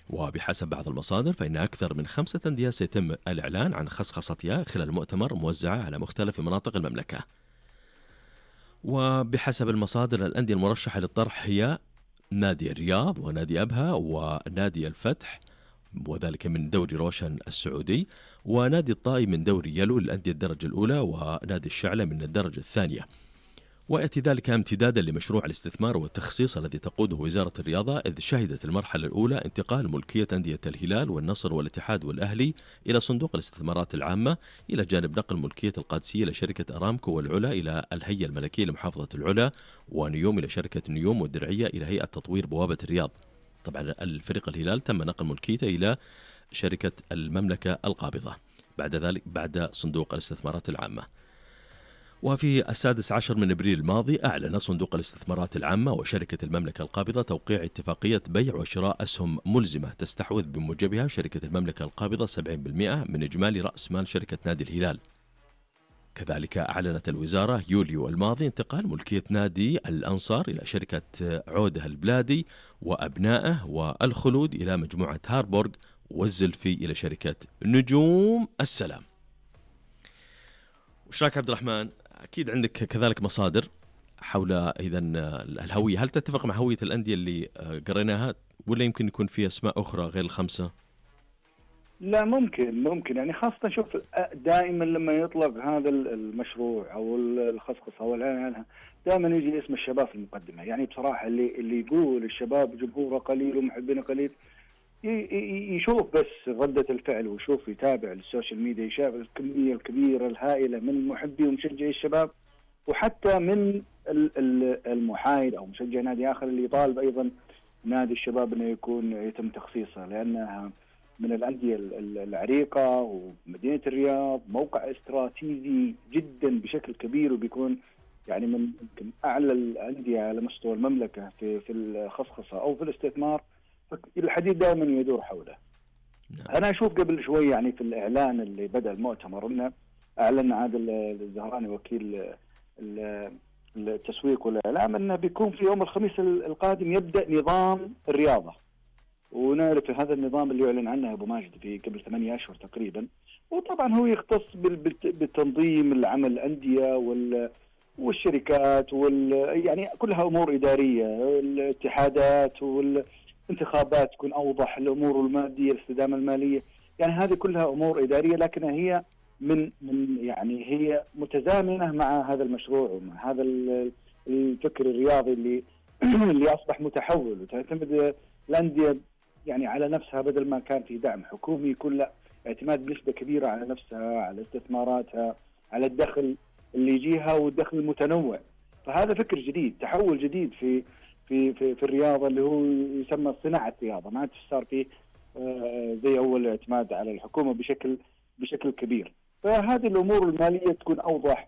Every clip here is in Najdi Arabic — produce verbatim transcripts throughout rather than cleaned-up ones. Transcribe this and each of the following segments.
وبحسب بعض المصادر فإن أكثر من خمسة أندية سيتم الإعلان عن خصخصتها خلال المؤتمر موزعة على مختلف مناطق المملكة. وبحسب المصادر الأندية المرشحة للطرح هي نادي الرياض ونادي أبها ونادي الفتح وذلك من دوري روشن السعودي، ونادي الطائي من دوري يلو للأندية الدرجة الأولى، ونادي الشعلة من الدرجة الثانية. ويأتي ذلك امتدادا لمشروع الاستثمار والتخصيص الذي تقوده وزارة الرياضة، إذ شهدت المرحلة الأولى انتقال ملكية أندية الهلال والنصر والاتحاد والأهلي إلى صندوق الاستثمارات العامة، إلى جانب نقل ملكية القادسية لشركة أرامكو والعلا إلى الهيئة الملكية لمحافظة العلا، ونيوم إلى شركة نيوم، والدرعية إلى هيئة تطوير بوابة الرياض. طبعا الفريق الهلال تم نقل ملكيته إلى شركة المملكة القابضة بعد ذلك بعد صندوق الاستثمارات العامة. وفي السادس عشر من أبريل الماضي أعلن صندوق الاستثمارات العامة وشركة المملكة القابضة توقيع اتفاقية بيع وشراء أسهم ملزمة تستحوذ بموجبها شركة المملكة القابضة سبعين بالمئة من إجمالي رأس مال شركة نادي الهلال. كذلك أعلنت الوزارة يوليو الماضي انتقال ملكية نادي الأنصار إلى شركة عودة البلادي وأبنائه، والخلود إلى مجموعة هاربورغ، والزلفي إلى شركة نجوم السلام. وش رايك عبد الرحمن؟ أكيد عندك كذلك مصادر حول إذا الهوية، هل تتفق مع هوية الأندية اللي قريناها ولا يمكن يكون في أسماء أخرى غير الخمسة؟ لا ممكن ممكن يعني خاصة شوف دائما لما يطلق هذا المشروع أو الخصخصة أو الإعلان عنها دائما يجي اسم الشباب في المقدمة. يعني بصراحة اللي اللي يقول الشباب جمهوره قليل ومحبينه قليل يشوف بس ردة الفعل ويشوف يتابع السوشيال ميديا، يشاف الكمية الكبيرة الهائلة من محبي ومشجعي الشباب، وحتى من المحايد أو مشجع نادي آخر اللي يطالب أيضا نادي الشباب أنه يكون يتم تخصيصه، لأنها من الأندية العريقة ومدينة الرياض موقع استراتيجي جدا بشكل كبير، وبيكون يعني من يمكن أعلى الأندية على مستوى المملكة في في الخصخصة أو في الاستثمار. الحديث دائما يدور حوله. أنا أشوف قبل شوي يعني في الإعلان اللي بدأ المؤتمر إنه أعلن عادل الزهراني وكيل التسويق والإعلام إنه بيكون في يوم الخميس القادم يبدأ نظام الرياضة، ونعرف هذا النظام اللي يعلن عنه أبو ماجد في قبل ثمانية أشهر تقريبا، وطبعا هو يختص بالتنظيم العمل الأندية وال والشركات وال يعني كلها أمور إدارية، الاتحادات والانتخابات تكون أوضح، الأمور المادية الاستدامة المالية، يعني هذه كلها أمور إدارية، لكنها هي من من يعني هي متزامنة مع هذا المشروع ومع هذا الفكر الرياضي اللي اللي أصبح متحول، وتعتمد الأندية يعني على نفسها بدل ما كان في دعم حكومي، يكون لا اعتماد بنسبة كبيرة على نفسها، على استثماراتها، على الدخل اللي يجيها والدخل المتنوع. فهذا فكر جديد، تحول جديد في في في, في الرياضة اللي هو يسمى صناعة رياضة، ما عاد صار فيه زي أول اعتماد على الحكومة بشكل بشكل كبير. فهذه الأمور المالية تكون أوضح،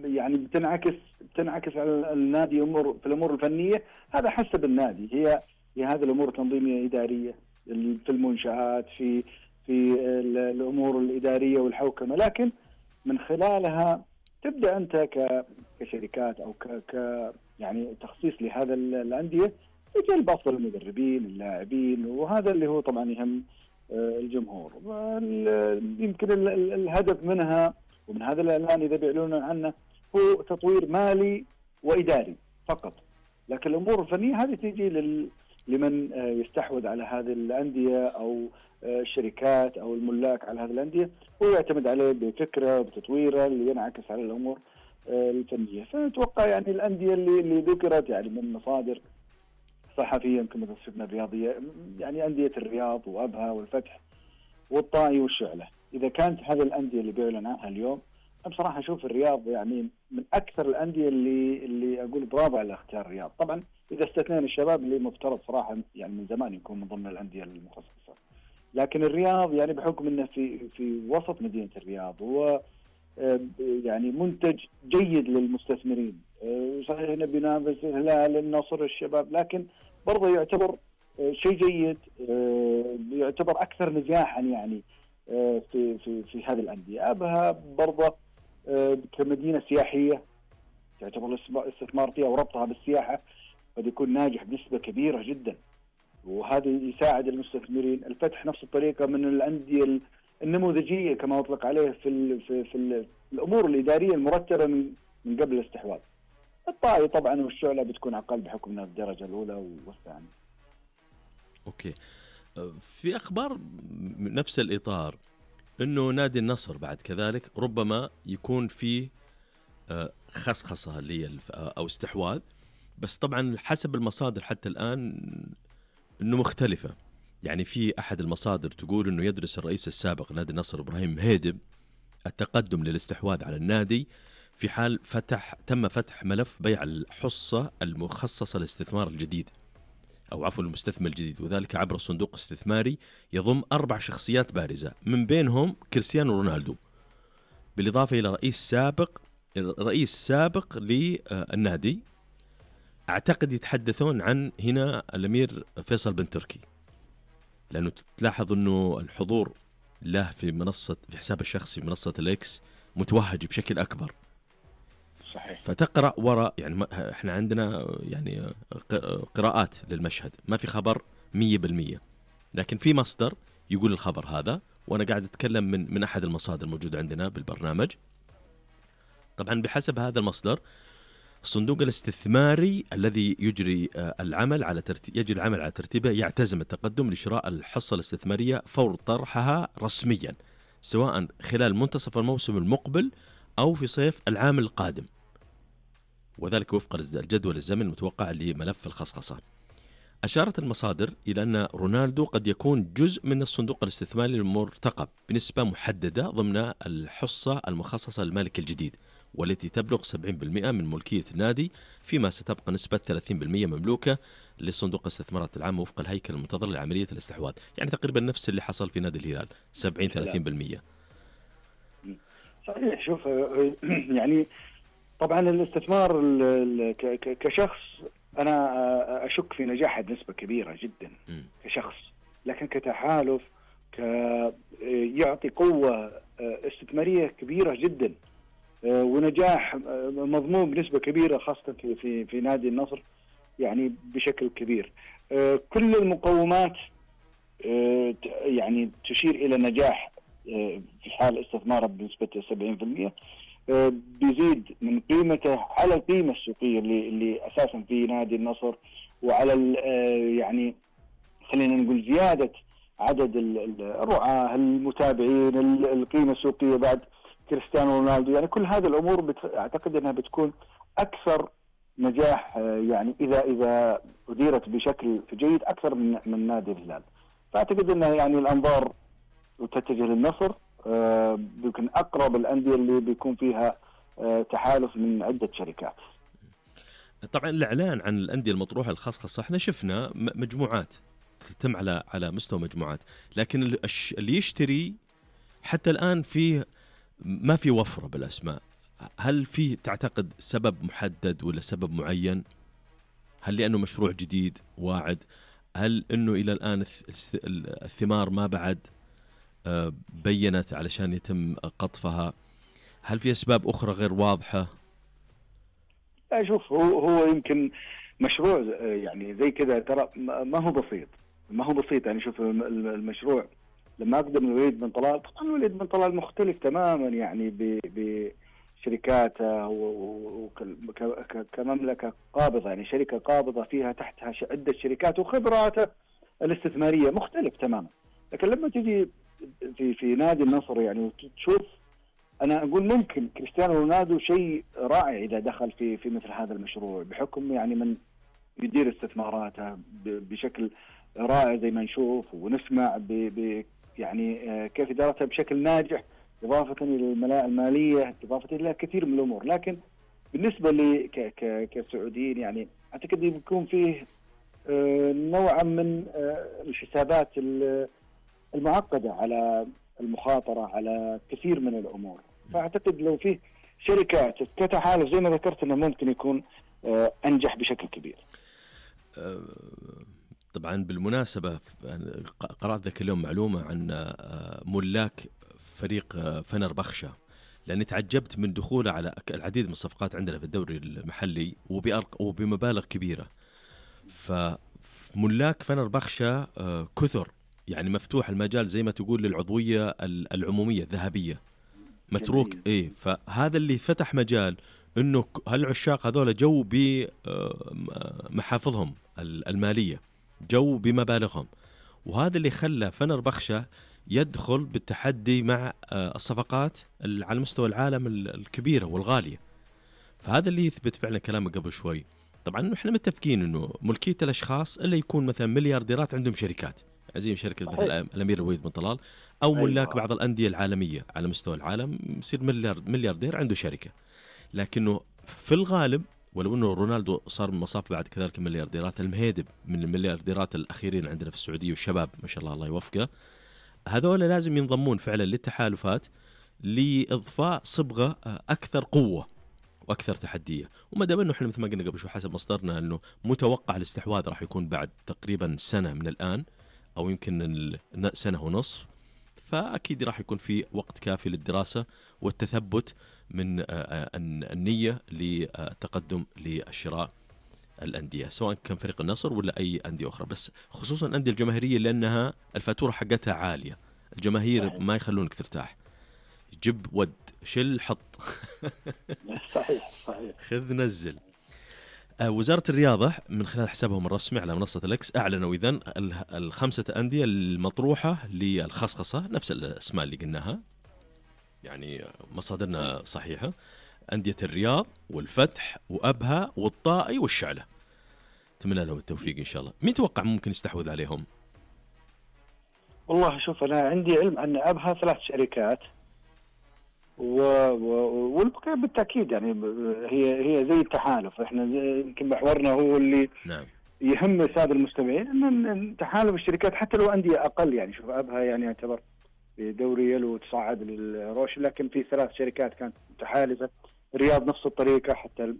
يعني بتنعكس بتنعكس على النادي أمور في الأمور الفنية، هذا حسب النادي، هي هي هذه الأمور تنظيمية إدارية في المنشآت، في في الأمور الإدارية والحوكمة، لكن من خلالها تبدأ أنت كشركات أو ك ك يعني تخصيص لهذا الأندية يجلب أفضل المدربين اللاعبين، وهذا اللي هو طبعا يهم الجمهور. يمكن الهدف منها ومن هذا الإعلان إذا بيعلنون عنه هو تطوير مالي وإداري فقط، لكن الأمور الفنية هذه تيجي لل لمن يستحوذ على هذه الأندية أو الشركات أو الملاك على هذه الأندية، هو يعتمد عليه بفكرة بتطويره اللي ينعكس على الأمور الفنية. فأتوقع يعني الأندية اللي اللي ذكرت يعني من مصادر صحفية يمكن متصفنا الرياضية، يعني أندية الرياض وأبها والفتح والطائي والشعلة، إذا كانت هذه الأندية اللي بيعلن عنها اليوم، بصراحة أشوف الرياض يعني من أكثر الأندية اللي اللي أقول برافو على اختيار الرياض. طبعا إذا استثنينا الشباب اللي مفترض صراحة يعني من زمان يكون من ضمن الأندية المخصصة، لكن الرياض يعني بحكم أنه في في وسط مدينة الرياض هو يعني منتج جيد للمستثمرين، صحيح انه بينافس الهلال النصر الشباب، لكن برضه يعتبر شيء جيد، يعتبر اكثر نجاحا يعني في في في هذه الانديه. ابها برضه كمدينه سياحيه تعتبر الاستثمار فيها وربطها بالسياحه قد يكون ناجح بنسبه كبيره جدا، هذا يساعد المستثمرين. الفتح نفس الطريقة من الأندية النموذجية كما أطلق عليه في ال في, في ال الأمور الإدارية المرتبة من من قبل الاستحواذ. الطائي طبعا والشعلة بتكون أقل بحكم من الدرجة الأولى والثانية. أوكي. في أخبار نفس الإطار إنه نادي النصر بعد كذلك ربما يكون فيه خصخصة اللي أو استحواذ، بس طبعا حسب المصادر حتى الآن إنه مختلفة. يعني في أحد المصادر تقول إنه يدرس الرئيس السابق نادي النصر إبراهيم هيدب التقدم للاستحواذ على النادي في حال فتح تم فتح ملف بيع الحصة المخصصة للاستثمار الجديد أو عفوا المستثمر الجديد، وذلك عبر صندوق استثماري يضم أربع شخصيات بارزة من بينهم كريستيانو رونالدو، بالإضافة إلى رئيس سابق رئيس سابق للنادي. أعتقد يتحدثون عن هنا الأمير فيصل بن تركي، لأنه تلاحظ أنه الحضور له في منصة في حساب الشخصي منصة الإكس متوهج بشكل أكبر. صحيح. فتقرأ وراء يعني إحنا عندنا يعني قراءات للمشهد، ما في خبر مية بالمية، لكن في مصدر يقول الخبر هذا، وأنا قاعد أتكلم من من أحد المصادر الموجودة عندنا بالبرنامج. طبعا بحسب هذا المصدر الصندوق الاستثماري الذي يجري العمل على ترتيب يجري العمل على ترتيبه يعتزم التقدم لشراء الحصة الاستثمارية فور طرحها رسميا، سواء خلال منتصف الموسم المقبل أو في صيف العام القادم، وذلك وفق الجدول الزمني المتوقع لملف الخصخصة. أشارت المصادر إلى أن رونالدو قد يكون جزء من الصندوق الاستثماري المرتقب بنسبة محددة ضمن الحصة المخصصة للمالك الجديد، والتي تبلغ سبعين بالمئة من ملكية النادي، فيما ستبقى نسبة ثلاثين بالمئة مملوكة لصندوق الاستثمارات العامة وفق الهيكل المنتظر لعملية الاستحواذ. يعني تقريبا نفس اللي حصل في نادي الهلال، سبعين ثلاثين بالمئة. صحيح. شوف يعني طبعا الاستثمار كشخص أنا أشك في نجاحه بنسبة كبيرة جدا كشخص، لكن كتحالف يعطي قوة استثمارية كبيرة جدا ونجاح مضمون بنسبة كبيرة، خاصة في في في نادي النصر يعني بشكل كبير. كل المقومات يعني تشير إلى نجاح في حال استثماره بنسبة سبعين بالمئة، بيزيد من قيمته على القيمة السوقية اللي اللي أساسا في نادي النصر، وعلى يعني خلينا نقول زيادة عدد الرعاة المتابعين، القيمة السوقية بعد كريستيانو رونالدو. يعني كل هذه الأمور بت... أعتقد أنها بتكون أكثر نجاح يعني إذا إذا أديرت بشكل جيد أكثر من من نادي الهلال. فأعتقد أنها يعني الأنظار تتجه للنصر، بيكون أقرب الأندية اللي بيكون فيها تحالف من عدة شركات. طبعا الإعلان عن الأندية المطروحة الخصخصة احنا شفنا مجموعات تتم على على مستوى مجموعات، لكن اللي يشتري حتى الآن فيه ما في وفرة بالأسماء. هل في تعتقد سبب محدد ولا سبب معين؟ هل لأنه مشروع جديد واعد؟ هل أنه إلى الآن الثمار ما بعد بينت علشان يتم قطفها؟ هل في أسباب أخرى غير واضحة؟ أشوف هو هو يمكن مشروع يعني زي كذا ترى ما هو بسيط ما هو بسيط يعني شوف المشروع لما أقدم الوليد بن طلال، طبعا الوليد بن طلال مختلف تماما يعني بشركاته كمملكة قابضة، يعني شركة قابضة فيها تحتها عدة شركات وخبراته الاستثمارية مختلف تماما. لكن لما تجي في في نادي النصر يعني وتشوف، أنا أقول ممكن كريستيانو رونالدو شيء رائع إذا دخل في في مثل هذا المشروع، بحكم يعني من يدير استثماراته بشكل رائع زي ما نشوف ونسمع ب ب يعني كيف إدارتها بشكل ناجح، إضافة إلى الملاءة المالية، إضافة إلى كثير من الأمور. لكن بالنسبة لي كسعوديين يعني أعتقد يكون فيه نوعا من الحسابات المعقدة على المخاطرة على كثير من الأمور. فأعتقد لو فيه شركات كتحالف زي ما ذكرت أنه ممكن يكون أنجح بشكل كبير. طبعا بالمناسبة قرأت ذاك اليوم معلومة عن ملاك فريق فنربخشة، لأني تعجبت من دخوله على العديد من الصفقات عندنا في الدوري المحلي وبمبالغ كبيرة. ف ملاك فنربخشة آه كثر، يعني مفتوح المجال زي ما تقول للعضوية العمومية الذهبية متروك. إيه، فهذا اللي فتح مجال إنه هالعشاق هذول جو بمحافظهم المالية، جو بمبالغهم، وهذا اللي خلى فنربخشة يدخل بالتحدي مع الصفقات على مستوى العالم الكبيرة والغالية. فهذا اللي يثبت فعلا كلامه قبل شوي. طبعا احنا متفقين انه ملكية الاشخاص اللي يكون مثلا مليارديرات عندهم شركات زي شركة مثل الامير الوليد بن طلال، او ملاك بعض الاندية العالمية على مستوى العالم يصير ملياردير عنده شركة. لكنه في الغالب ولو انه رونالدو صار من مصاف بعد كذلك المليارديرات، المهيدب من المليارديرات الاخيرين عندنا في السعودية والشباب ما شاء الله الله يوفقه، هذول لازم ينضمون فعلا للتحالفات لإضفاء صبغة أكثر قوة وأكثر تحدية. وما دام أنه إحنا مثل ما قلنا قبل شو حسب مصدرنا أنه متوقع الاستحواذ راح يكون بعد تقريبا سنة من الآن أو يمكن سنة ونصف، فأكيد راح يكون في وقت كافي للدراسة والتثبت من النية للتقدم للشراء الأندية سواء كان فريق النصر ولا أي أندية أخرى، بس خصوصا الأندية الجماهيرية لأنها الفاتورة حقتها عالية، الجماهير صحيح. ما يخلونك ترتاح، جب ود شل حط صحيح صحيح خذ نزل. آه وزارة الرياضة من خلال حسابهم الرسمي على منصة الإكس أعلنوا إذن الخمسة أندية المطروحة للخصخصة، نفس الأسماء اللي قلناها يعني مصادرنا صحيحة، أندية الرياض والفتح وأبها والطائي والشعلة. أتمنى لهم التوفيق إن شاء الله. مين توقع ممكن يستحوذ عليهم؟ والله شوف أنا عندي علم أن أبها ثلاث شركات و... و... والبقية بالتأكيد يعني هي هي زي التحالف، إحنا يمكن محورنا هو اللي نعم. يهم السادة المستمعين أن تحالف الشركات حتى لو أندية أقل، يعني شوف أبها يعني يعتبر بدوري يلو تصعد للروش، لكن في ثلاث شركات كانت متحالفة. الرياض نفس الطريقة، حتى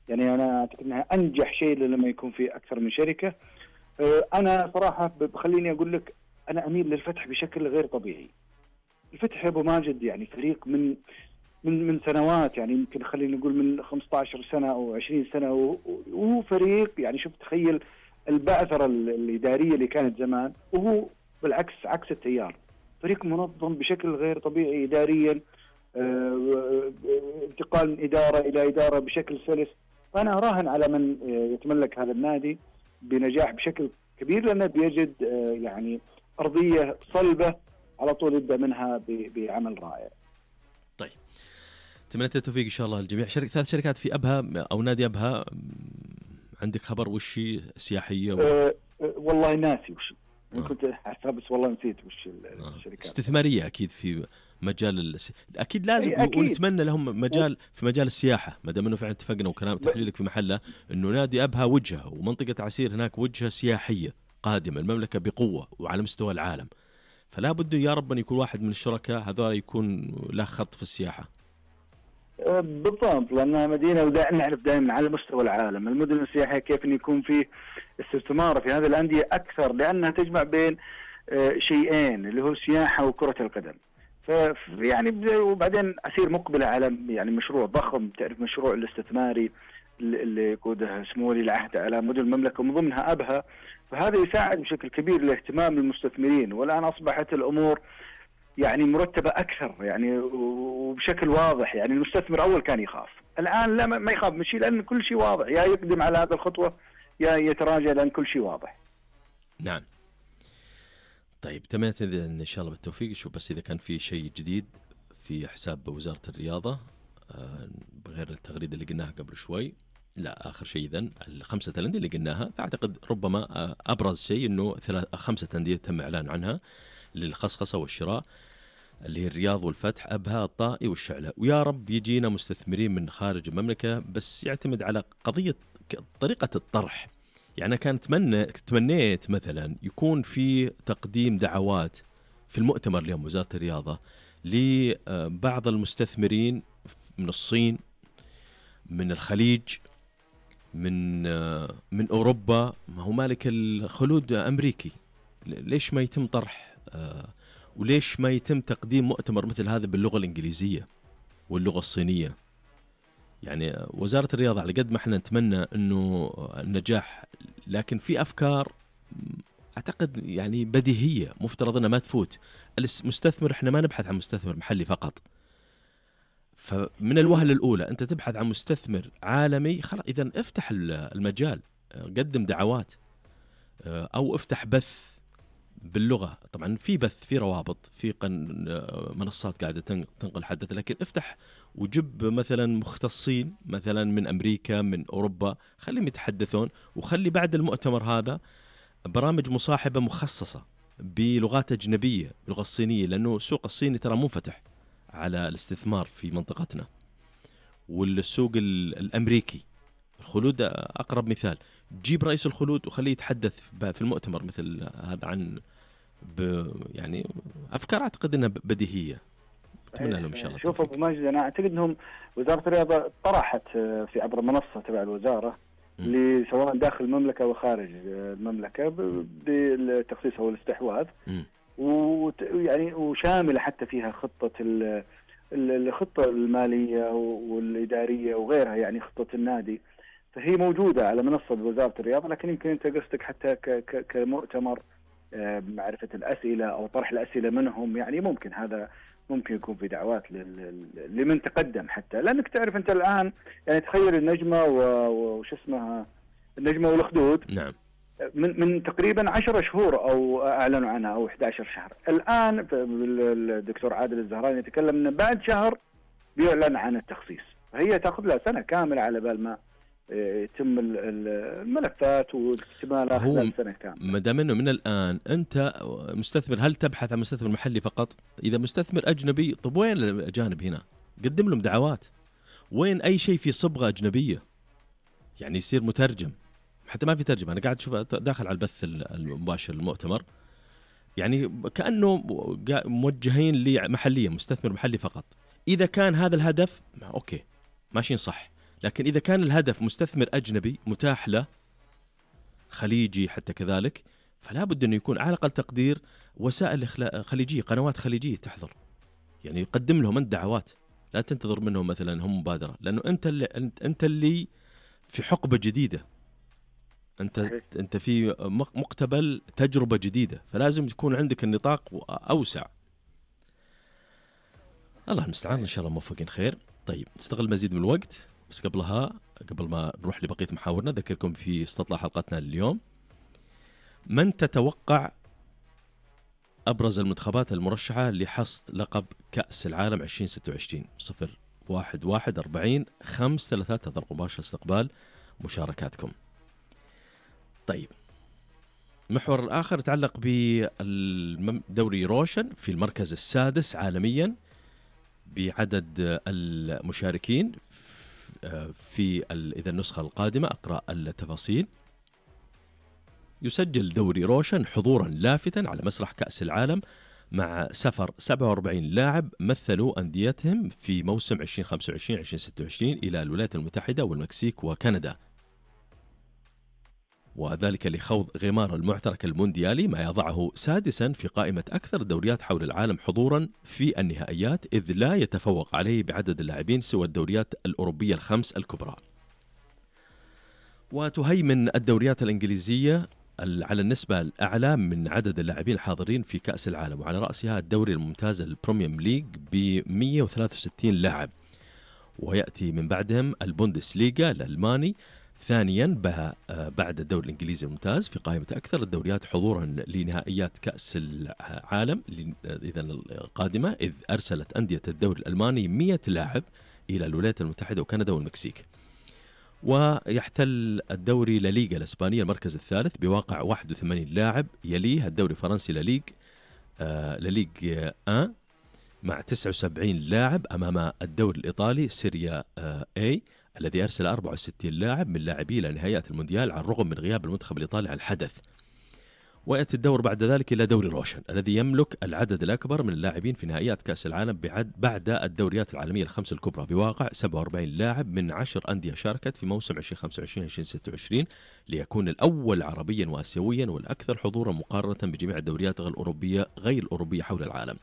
يعني أنا أعتقد أنها أنجح شيء لما يكون في أكثر من شركة. أنا صراحة بخليني أقول لك أنا أميل للفتح بشكل غير طبيعي. الفتح يا أبو ماجد يعني فريق من من من سنوات، يعني يمكن خلينا نقول من خمسة عشر سنة أو عشرين سنة، وهو فريق يعني شوف تخيل البعثرة الإدارية اللي كانت زمان، وهو بالعكس عكس التيار، فريق منظم بشكل غير طبيعي إداريا، اه انتقال من إدارة إلى إدارة بشكل سلس. فأنا أراهن على من يتملك هذا النادي بنجاح بشكل كبير، لأنه بيجد اه يعني أرضية صلبة على طول يبدأ منها بعمل رائع. طيب أتمنى التوفيق إن شاء الله الجميع. شركة ثلاث شركات في أبها أو نادي أبها، عندك خبر وشي سياحية و... أه والله ناسي وش آه. كنت أحسب بس والله نسيت وش الشركات. استثمارية أكيد في مجال الس... أكيد لازم أكيد. ونتمنى لهم مجال في مجال السياحة، ما دام إنه فعلا اتفقنا وكلام تحليلك في محله إنه نادي أبها وجهة ومنطقة عسير هناك وجهة سياحية قادمة المملكة بقوة وعلى مستوى العالم، فلا بده يا رب أن يكون واحد من الشركاء هذول يكون له خط في السياحة. بالضبط، لأنها مدينة ودائما نعرف دائما على مستوى العالم المدن السياحية كيف أن يكون فيه استثمار في هذه الأندية أكثر، لأنها تجمع بين شيئين اللي هو السياحة وكرة القدم. فيعني وبعدين أسير مقبلة على يعني مشروع ضخم، تعرف مشروع الاستثماري اللي يقوده سمو ولي العهد على مدن المملكة ومن ضمنها أبها، فهذا يساعد بشكل كبير لاهتمام المستثمرين. والآن أصبحت الأمور يعني مرتبة أكثر يعني وبشكل واضح، يعني المستثمر أول كان يخاف، الآن لا ما يخاف من شيء لأن كل شيء واضح، يا يقدم على هذه الخطوة يا يتراجع لأن كل شيء واضح. نعم. طيب تمام إن شاء الله بالتوفيق. شوف بس إذا كان في شيء جديد في حساب وزارة الرياضة بغير التغريدة اللي قلناها قبل شوي. لا آخر شيء إذن الخمسة الأندية اللي قلناها، فأعتقد ربما أبرز شيء إنه ثلاث خمسة أندية تم إعلان عنها للخصخصة والشراء اللي هي الرياض والفتح أبها الطائي والشعلة. ويا رب يجينا مستثمرين من خارج المملكة، بس يعتمد على قضية طريقة الطرح. يعني كان تمنى تمنيت مثلا يكون في تقديم دعوات في المؤتمر اليوم وزارة الرياضة لبعض المستثمرين من الصين، من الخليج، من من أوروبا، ما هو مالك الخلود أمريكي، ليش ما يتم طرح وليش ما يتم تقديم مؤتمر مثل هذا باللغة الإنجليزية واللغة الصينية؟ يعني وزارة الرياضة على قد ما احنا نتمنى انه النجاح، لكن في افكار أعتقد يعني بديهية، مفترض أنها ما تفوت. المستثمر إحنا ما نبحث عن مستثمر محلي فقط، فمن الوهلة الأولى أنت تبحث عن مستثمر عالمي، خلاص إذن افتح المجال، قدم دعوات أو افتح بث باللغة. طبعا في بث، في روابط، في منصات قاعدة تنقل حدث، لكن افتح وجب مثلا مختصين مثلا من أمريكا من أوروبا، خليهم يتحدثون، وخلي بعد المؤتمر هذا برامج مصاحبة مخصصة بلغات أجنبية، باللغة الصينية، لأنه السوق الصيني ترى منفتح على الاستثمار في منطقتنا، والسوق الأمريكي الخلود أقرب مثال. جيب رئيس الخلود وخليه يتحدث في المؤتمر مثل هذا عن يعني أفكار أعتقد أنها بديهية. أتمنى لهم إن شاء الله. شوف أبو ماجد، أنا أعتقد أنهم وزارة الرياضة طرحت في عبر المنصة تبع الوزارة اللي سواء داخل المملكة وخارج المملكة بالتخصيص أو الاستحواذ، ويعني وشاملة حتى فيها خطة الخطة المالية والإدارية وغيرها، يعني خطة النادي، فهي موجودة على منصة وزارة الرياضة. لكن يمكن أنت قصدك حتى كمؤتمر معرفة الأسئلة أو طرح الأسئلة منهم، يعني ممكن هذا ممكن يكون في دعوات لمن تقدم، حتى لأنك تعرف أنت الآن يعني تخيل النجمة وش اسمها النجمة والأخدود، نعم، من من تقريبا عشرة شهور أو أعلنوا عنها أو إحدى عشر شهر. الآن الدكتور عادل الزهراني يتكلم أن بعد شهر بيعلن عن التخصيص، فهي تأخذ لها سنة كاملة على بال ما يتم الملفات واكتمالها خلال سنة كاملة. ما دام انه من الآن أنت مستثمر، هل تبحث عن مستثمر محلي فقط؟ إذا مستثمر أجنبي، طب وين الأجانب هنا؟ قدم لهم دعوات. وين أي شيء في صبغة أجنبية؟ يعني يصير مترجم، حتى ما في ترجمة. أنا قاعد أشوف داخل على البث المباشر المؤتمر، يعني كأنه موجهين لمحلية، مستثمر محلي فقط. إذا كان هذا الهدف أوكي ماشيين صح، لكن إذا كان الهدف مستثمر أجنبي متاح له، خليجي حتى كذلك، فلا بد أنه يكون على الأقل تقدير وسائل خليجية، قنوات خليجية تحضر، يعني يقدم لهم أنت دعوات، لا تنتظر منهم مثلا هم مبادرة، لأنه أنت اللي أنت اللي في حقبة جديدة، أنت أنت في مقتبل تجربة جديدة، فلازم تكون عندك النطاق أوسع. الله المستعان، إن شاء الله موفقين خير. طيب نستغل مزيد من الوقت، بس قبلها قبل ما نروح لبقية محاورنا ذكركم في استطلاع حلقتنا اليوم. من تتوقع أبرز المنتخبات المرشحة لحصد لقب كأس العالم عشرين ستة وعشرين؟ صفر واحد واحد أربعين خمس ثلاثات هذا مباشر استقبال مشاركاتكم. طيب المحور الآخر يتعلق بدوري روشن في المركز السادس عالميا بعدد المشاركين في إذا النسخة القادمة. أقرأ التفاصيل. يسجل دوري روشن حضورا لافتا على مسرح كأس العالم مع سفر سبعة وأربعين لاعب مثلوا أنديتهم في موسم عشرين خمسة وعشرين عشرين ستة وعشرين إلى الولايات المتحدة والمكسيك وكندا، وذلك لخوض غمار المعترك المونديالي، ما يضعه سادسا في قائمة أكثر الدوريات حول العالم حضورا في النهائيات، إذ لا يتفوق عليه بعدد اللاعبين سوى الدوريات الأوروبية الخمس الكبرى. وتهيمن الدوريات الإنجليزية على النسبة الأعلى من عدد اللاعبين الحاضرين في كأس العالم، وعلى رأسها الدوري الممتاز البريميوم ليج ب مئة وثلاثة وستين لاعب، ويأتي من بعدهم البوندسليغا الألماني ثانيا بعد الدوري الإنجليزي الممتاز في قائمة أكثر الدوريات حضورا لنهائيات كأس العالم إذا القادمة، إذ أرسلت أندية الدوري الألماني مئة لاعب إلى الولايات المتحدة وكندا والمكسيك. ويحتل الدوري لليغا الإسبانية المركز الثالث بواقع واحد وثمانين لاعب، يليه الدوري الفرنسي لليغ آه لليغ آن مع تسعة وسبعين لاعب، أمام الدوري الإيطالي سيريا آه A الذي أرسل أربعة وستين لاعب من لاعبيه إلى نهائيات المونديال على الرغم من غياب المنتخب الإيطالي عن الحدث. ويأتي الدور بعد ذلك إلى دوري روشن الذي يملك العدد الأكبر من اللاعبين في نهائيات كأس العالم بعد الدوريات العالمية الخمس الكبرى بواقع سبعة وأربعين لاعب من عشر أندية شاركت في موسم عشرين خمسة وعشرين عشرين ستة وعشرين، ليكون الأول عربيا وآسيويا والأكثر حضورا مقارنة بجميع الدوريات غير الأوروبية غير الأوروبية حول العالم.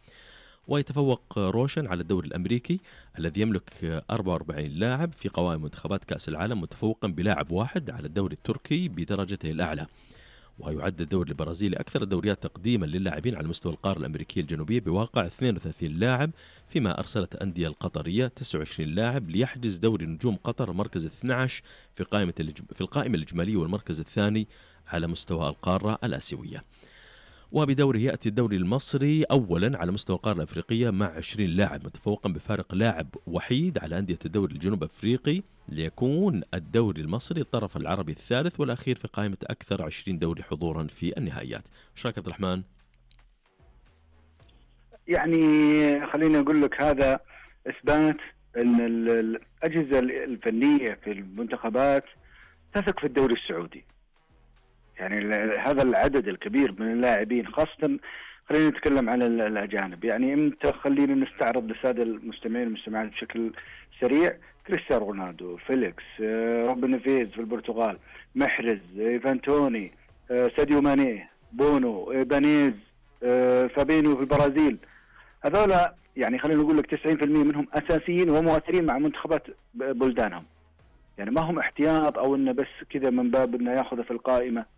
ويتفوق روشن على الدوري الأمريكي الذي يملك أربعة وأربعين لاعب في قوائم منتخبات كأس العالم، متفوقا بلاعب واحد على الدوري التركي بدرجته الأعلى. ويعد الدوري البرازيلي أكثر الدوريات تقديما للاعبين على مستوى القارة الأمريكية الجنوبية بواقع اثنين وثلاثين لاعب، فيما أرسلت الأندية القطرية تسعة وعشرين لاعب ليحجز دوري نجوم قطر المركز اثني عشر في قائمة في القائمة الإجمالية والمركز الثاني على مستوى القارة الآسيوية. وبدوره يأتي الدوري المصري أولا على مستوى القارة الأفريقية مع عشرين لاعب، متفوقا بفارق لاعب وحيد على أندية الدوري الجنوب أفريقي، ليكون الدوري المصري الطرف العربي الثالث والأخير في قائمة أكثر عشرين دوري حضورا في النهائيات. ايش رايك عبد الرحمن؟ يعني خليني أقول لك هذا إثبات أن الأجهزة الفنية في المنتخبات تثق في الدوري السعودي. يعني هذا العدد الكبير من اللاعبين، خاصة خلينا نتكلم عن الأجانب. يعني امتى خلينا نستعرض للسادة المستمعين والمستمعات بشكل سريع: كريستيانو رونالدو، فيليكس، روبن نيفيز في البرتغال، محرز، إيفان توني، ساديو ماني، بونو، إيبانيز، فابينيو في البرازيل. هذولا يعني خلينا نقول لك تسعين بالمئة منهم أساسيين ومؤثرين مع منتخبات بلدانهم. يعني ما هم احتياط أو إنه بس كذا من باب إنه يأخذه في القائمة.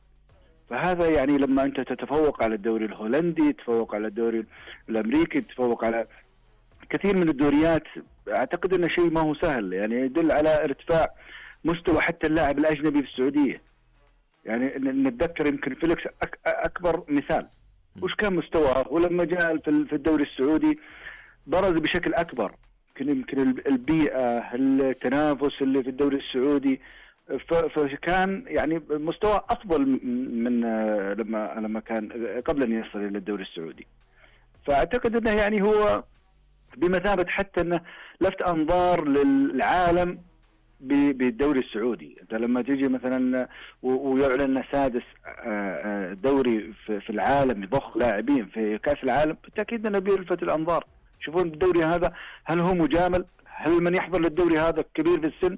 فهذا يعني لما أنت تتفوق على الدوري الهولندي، تتفوق على الدوري الأمريكي، تتفوق على كثير من الدوريات، أعتقد أنه شيء ما هو سهل. يعني يدل على ارتفاع مستوى حتى اللاعب الأجنبي في السعودية. يعني نتذكر يمكن فيليكس أك أكبر مثال، وش كان مستواه ولما جاء في الدوري السعودي برز بشكل أكبر. يمكن البيئة، التنافس اللي في الدوري السعودي، فكان يعني مستوى أفضل من لما لما كان قبل أن يصل إلى الدوري السعودي. فأعتقد أنه يعني هو بمثابة حتى أنه لفت أنظار للعالم بالدوري السعودي. أنت لما تيجي مثلا ويعلن سادس دوري في العالم يضخ لاعبين في كأس العالم، بالتأكيد أنه بيلفت الأنظار. شوفون الدوري هذا هل هو مجامل؟ هل من يحضر للدوري هذا كبير في السن؟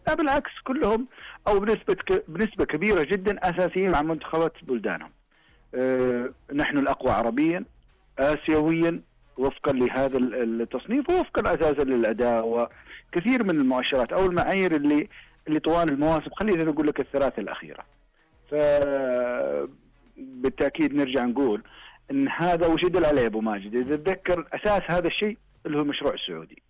لا بالعكس، كلهم أو بنسبة بنسبة كبيرة جدا أساسيين مع منتخبات بلدانهم. أه نحن الأقوى عربيا آسيويا وفقا لهذا التصنيف، ووفقا أساسا للأداء وكثير من المؤشرات أو المعايير اللي اللي طوال المواسم، خلينا نقول لك الثلاثة الأخيرة. فبالتأكيد نرجع نقول إن هذا وش يدل عليه أبو ماجد؟ إذا تذكر أساس هذا الشيء اللي هو المشروع السعودي.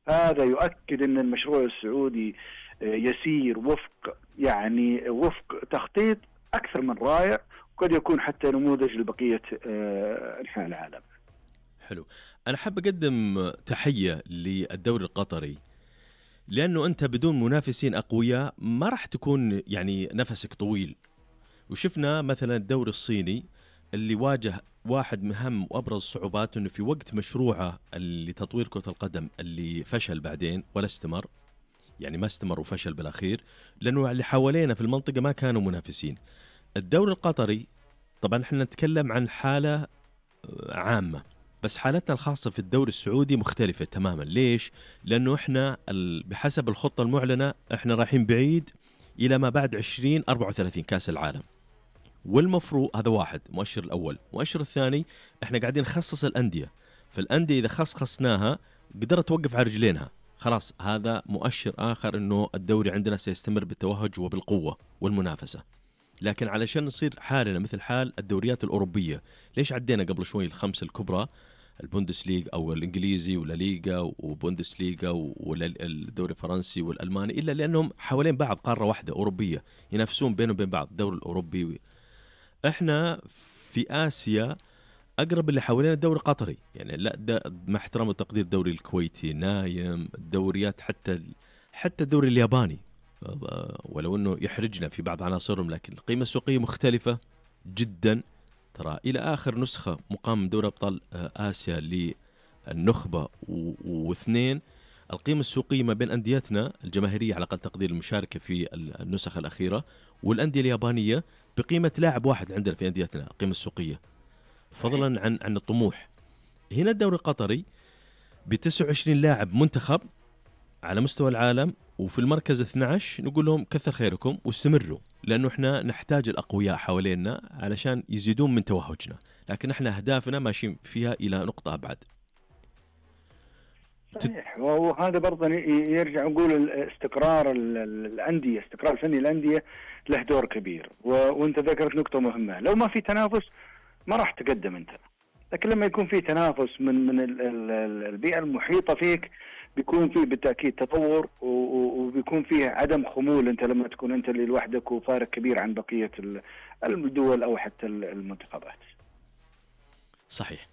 هذا يؤكد أن المشروع السعودي يسير وفق يعني وفق تخطيط أكثر من رائع، وقد يكون حتى نموذج لبقية أنحاء العالم. حلو. أنا حاب أقدم تحية للدوري القطري، لأنه أنت بدون منافسين أقوياء ما راح تكون يعني نفسك طويل. وشفنا مثلا الدوري الصيني اللي واجه واحد من أهم وأبرز الصعوبات أنه في وقت مشروعه لتطوير كرة القدم اللي فشل بعدين ولا استمر، يعني ما استمر وفشل بالأخير لأنه اللي حوالينا في المنطقة ما كانوا منافسين. الدوري القطري طبعا احنا نتكلم عن حالة عامة، بس حالتنا الخاصة في الدوري السعودي مختلفة تماما. ليش؟ لأنه احنا بحسب الخطة المعلنة احنا رايحين بعيد إلى ما بعد عشرين أربعة وثلاثين كأس العالم، والمفروض هذا واحد مؤشر الأول. مؤشر الثاني احنا قاعدين نخصص الأندية، فالأندية إذا خصصناها قدرت توقف على رجلينها، خلاص هذا مؤشر آخر إنه الدوري عندنا سيستمر بالتوهج وبالقوة والمنافسة. لكن علشان نصير حالنا مثل حال الدوريات الأوروبية، ليش عدينا قبل شوي الخمس الكبرى، البوندسليغ أو الإنجليزي ولا ليغا وبوندسليغا والدوري الفرنسي والألماني، إلا لأنهم حوالين بعض قارة واحدة أوروبية ينافسون بينهم وبين بعض. الدوري الأوروبي احنا في آسيا أقرب اللي حوالين الدوري القطري، يعني لا مع احترام وتقدير الدوري الكويتي نايم، الدوريات حتى حتى الدوري الياباني ولو أنه يحرجنا في بعض عناصرهم، لكن القيمة السوقية مختلفة جدا. ترى إلى آخر نسخة مقام من دوري أبطال آسيا للنخبة واثنين، القيمة السوقية ما بين أنديتنا الجماهيرية على أقل تقدير المشاركة في النسخ الأخيرة والأندية اليابانية بقيمة لاعب واحد عندنا في أنديتنا القيمة السوقية، فضلا عن عن الطموح. هنا الدوري القطري بتسعة وعشرين لاعب منتخب على مستوى العالم، وفي المركز اثني عشر نقول لهم كثر خيركم واستمروا، لأنه احنا نحتاج الأقوياء حوالينا علشان يزيدون من توهجنا، لكن احنا أهدافنا ماشيين فيها إلى نقطة أبعد. صحيح. وهذا برضه يرجع نقول استقرار الأندية، استقرار فني الأندية له دور كبير. وانت ذكرت نقطة مهمة، لو ما في تنافس ما راح تقدم انت، لكن لما يكون في تنافس من من البيئة المحيطة فيك بيكون فيه بالتأكيد تطور، وبيكون فيه عدم خمول انت لما تكون انت اللي لوحدك وفارق كبير عن بقية الدول او حتى المنتخبات. صحيح.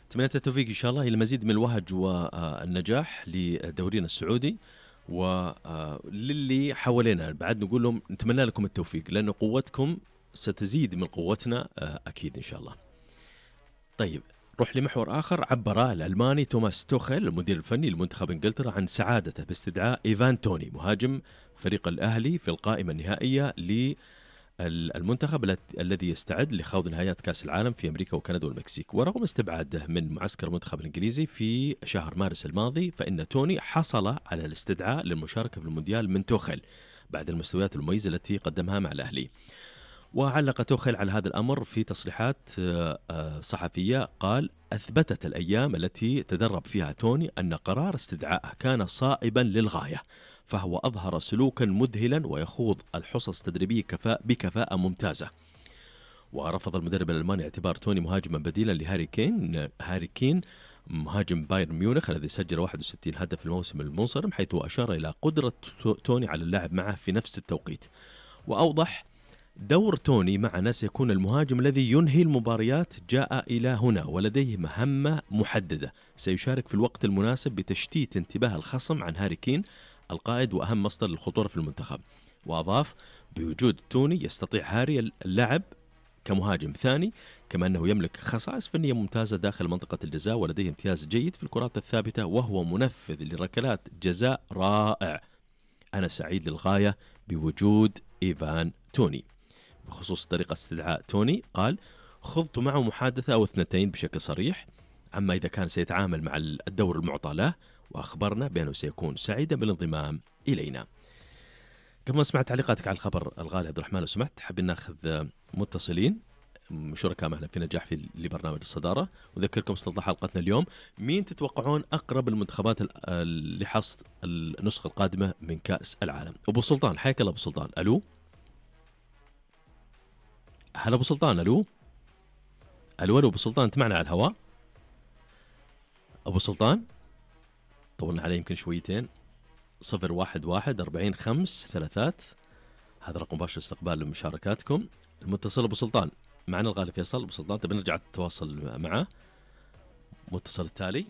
تمنيت التوفيق إن شاء الله إلى مزيد من الوهج والنجاح لدورينا السعودي وللي حوالينا. بعد نقول لهم نتمنى لكم التوفيق، لأن قوتكم ستزيد من قوتنا أكيد إن شاء الله. طيب روح لمحور آخر. عبر الألماني توماس توخيل المدير الفني لمنتخب إنجلترا عن سعادته باستدعاء إيفان توني مهاجم فريق الأهلي في القائمة النهائية ل المنتخب الذي يستعد لخوض نهائيات كأس العالم في أمريكا وكندا والمكسيك. ورغم استبعاده من معسكر المنتخب الإنجليزي في شهر مارس الماضي، فإن توني حصل على الاستدعاء للمشاركة في المونديال من توخيل بعد المستويات المميزة التي قدمها مع الأهلي. وعلق توخيل على هذا الأمر في تصريحات صحفية، قال: أثبتت الأيام التي تدرب فيها توني أن قرار استدعائه كان صائبا للغاية، فهو أظهر سلوكا مذهلا ويخوض الحصص التدريبية كفاء بكفاءة ممتازة. ورفض المدرب الألماني اعتبار توني مهاجما بديلا لهاري كين هاري كين مهاجم بايرن ميونخ الذي سجل واحد وستين هدف في الموسم المنصرم، حيث أشار إلى قدرة توني على اللعب معه في نفس التوقيت. وأوضح: دور توني معنا سيكون المهاجم الذي ينهي المباريات، جاء إلى هنا ولديه مهمة محددة، سيشارك في الوقت المناسب بتشتيت انتباه الخصم عن هاري كين القائد وأهم مصدر للخطورة في المنتخب. وأضاف: بوجود توني يستطيع هاري اللعب كمهاجم ثاني، كما أنه يملك خصائص فنية ممتازة داخل منطقة الجزاء، ولديه امتياز جيد في الكرات الثابتة، وهو منفذ لركلات جزاء رائع. أنا سعيد للغاية بوجود إيفان توني. بخصوص طريقة استدعاء توني، قال: خضت معه محادثة أو اثنتين بشكل صريح عما إذا كان سيتعامل مع الدور المعطى له، وأخبرنا بأنه سيكون سعيدا بالانضمام إلينا. قبل ما أسمع تعليقاتك على الخبر الغالي عبد الرحمن، لو سمحت حابين ناخذ متصلين شركاء معنا في نجاح في لبرنامج الصدارة. وذكركم استطلاع حلقتنا اليوم: مين تتوقعون أقرب المنتخبات لحصد النسخة القادمة من كأس العالم؟ أبو سلطان، حياك الله أبو سلطان. ألو، هلا أبو سلطان. ألو ألو ألو أبو سلطان، أنت معنا على الهواء؟ أبو سلطان طولنا عليه يمكن شويتين. صفر واحد واحد أربعين خمس ثلاثات، هذا رقم مباشر استقبال لمشاركاتكم. المتصل أبو سلطان معنا الغالي فيصل. أبو سلطان تبي نرجع نتواصل معه. متصل التالي.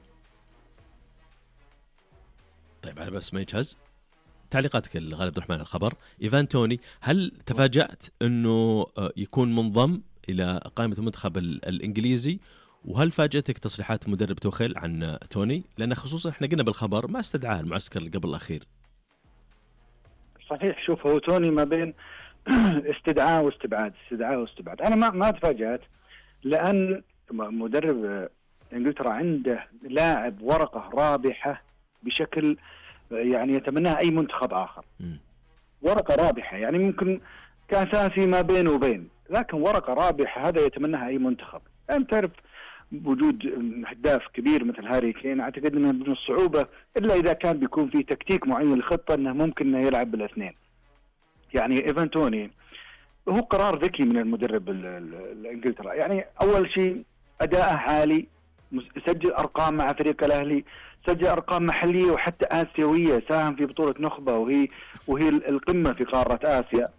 طيب على بس ما يجهز تعليقاتك الغالي عبد الرحمن على الخبر. إيفان توني، هل تفاجأت أنه يكون منضم إلى قائمة المنتخب الإنجليزي؟ وهل فاجأتك تصريحات مدرب توخيل عن توني؟ لأن خصوصا احنا قلنا بالخبر ما استدعاه المعسكر اللي قبل الأخير. صحيح. شوف، هو توني ما بين استدعاء واستبعاد، استدعاء واستبعاد. أنا ما ما تفاجأت، لأن مدرب إنجلترا عنده لاعب ورقة رابحة بشكل يعني يتمناها أي منتخب آخر. م. ورقة رابحة يعني ممكن كأساسي ما بين وبين، لكن ورقة رابحة هذا يتمناها أي منتخب. أنت تعرف وجود هداف كبير مثل هاري كين، أعتقد أنه من الصعوبة إلا إذا كان بيكون في تكتيك معين للخطة أنه ممكن أنه يلعب بالاثنين. يعني إيفان توني هو قرار ذكي من المدرب الإنجلترا. يعني أول شيء أداءه عالي، سجل أرقام مع فريق الأهلي، سجل أرقام محلية وحتى آسيوية، ساهم في بطولة نخبة وهي وهي القمة في قارة آسيا.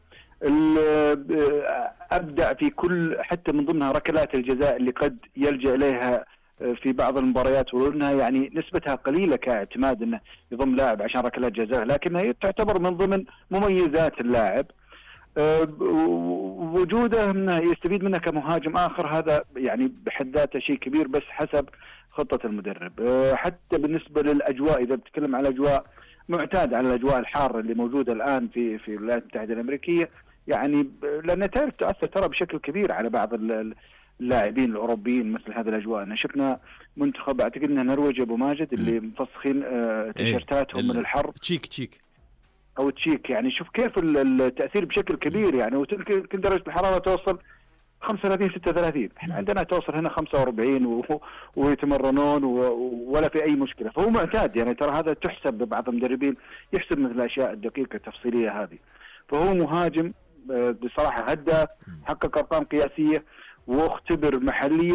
أبدع في كل، حتى من ضمنها ركلات الجزاء اللي قد يلجأ إليها في بعض المباريات، وأنها يعني نسبتها قليلة كاعتماد أنه يضم لاعب عشان ركلات جزاء، لكنها تعتبر من ضمن مميزات اللاعب. وجوده انه يستفيد منه كمهاجم آخر، هذا يعني بحد ذاته شيء كبير، بس حسب خطة المدرب. حتى بالنسبة للأجواء، إذا بتكلم على الأجواء، معتاد على الأجواء الحارة اللي موجودة الآن في في الولايات المتحدة الأمريكية، يعني لأنها تعرف تؤثر ترى بشكل كبير على بعض اللاعبين الأوروبيين مثل هذه الأجواء. أنا شفنا منتخب أعتقد أنه نرويج أبو ماجد اللي مفسخين تيشيرتاتهم من الحر، تشيك تشيك أو تشيك، يعني شوف كيف التأثير بشكل كبير يعني. وتلك درجة الحرارة توصل خمسة وثلاثين ستة وثلاثين، احنا عندنا توصل هنا خمسة وأربعين و... ويتمرنون و... ولا في اي مشكله، فهو معتاد يعني. ترى هذا تحسب ببعض المدربين يحسب مثل الاشياء الدقيقه التفصيليه هذه. فهو مهاجم بصراحه هداف، حقق ارقام قياسيه، واختبر محليا